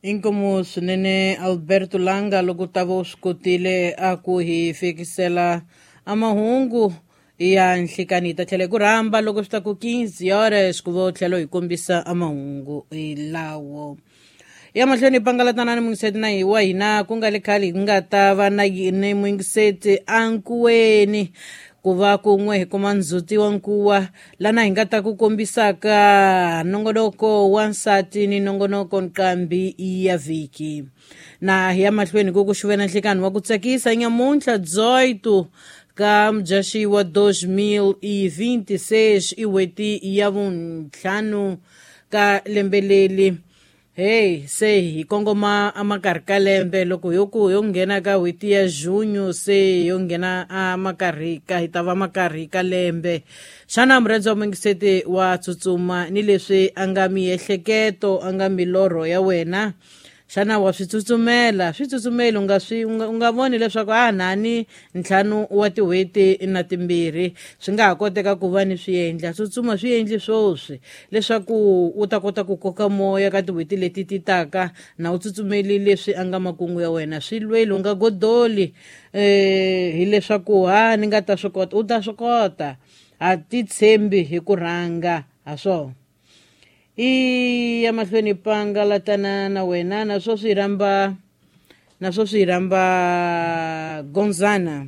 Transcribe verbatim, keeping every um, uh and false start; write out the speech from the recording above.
Inkomu swinene Alberto Langa loko ta va u swi kotile a ku hi fikisela a mahungu ya nhlikani. Hi ta tlhela hi ku rhamba loko swi ta ku quinze horas ku va u tlhela u hi kombisa a mahungu lawo ya mahlweni. Hi pangalatana ni muyingiseti na hi wa hina ku nga le khale hi nga ta va na yini muyingiseti ankuweni ku va kun'we hi kuma ndzhuti wa nkuwa lana hi nga ta ku kombisaka nongonoko wa nsati ni nongonoko nqambi ya vhiki. Na hi ya mahlweni ku ku xuvena nhlikani wa ku tsakisa nyamuntlha dezoito ka Mudyaxihi wa dos mil e vinte e seis, i n'hweti ya vuntlhanu ka lembe leli. Hey, se hi kongoma amakarhi ka lembe loko yo ku yo nghena ka n'hweti ya junho, se yo nghena amakarhi ka hi ta va makarhi ka lembe. Xana murhandzi wa muyingiseti wa tsutsuma ni leswi a nga miehleketo, a nga milorho ya wena? Xana wa swi tsutsumela? Swi tsutsumeli, u nga swi u nga, u nga voni leswaku a nani ntlhanu wa tin'hweti na timbirhi swi nga ha koteka ku va ni swi endla. Tsutsuma, swi endli swoswi leswaku u ta kota ku koka moya ka tin'hweti leti ti taka na u tsutsumeli leswi a nga makungu ya wena. Swi lweli, u nga godoli eh hileswaku ha ni nga ta swi kota. U ta swi kota, ha ti tshembi hi ku rhanga ha swona. I ya mahlweni pangalatana na wena na sweswi hi rhamba na sweswi hi rhamba Gonzana.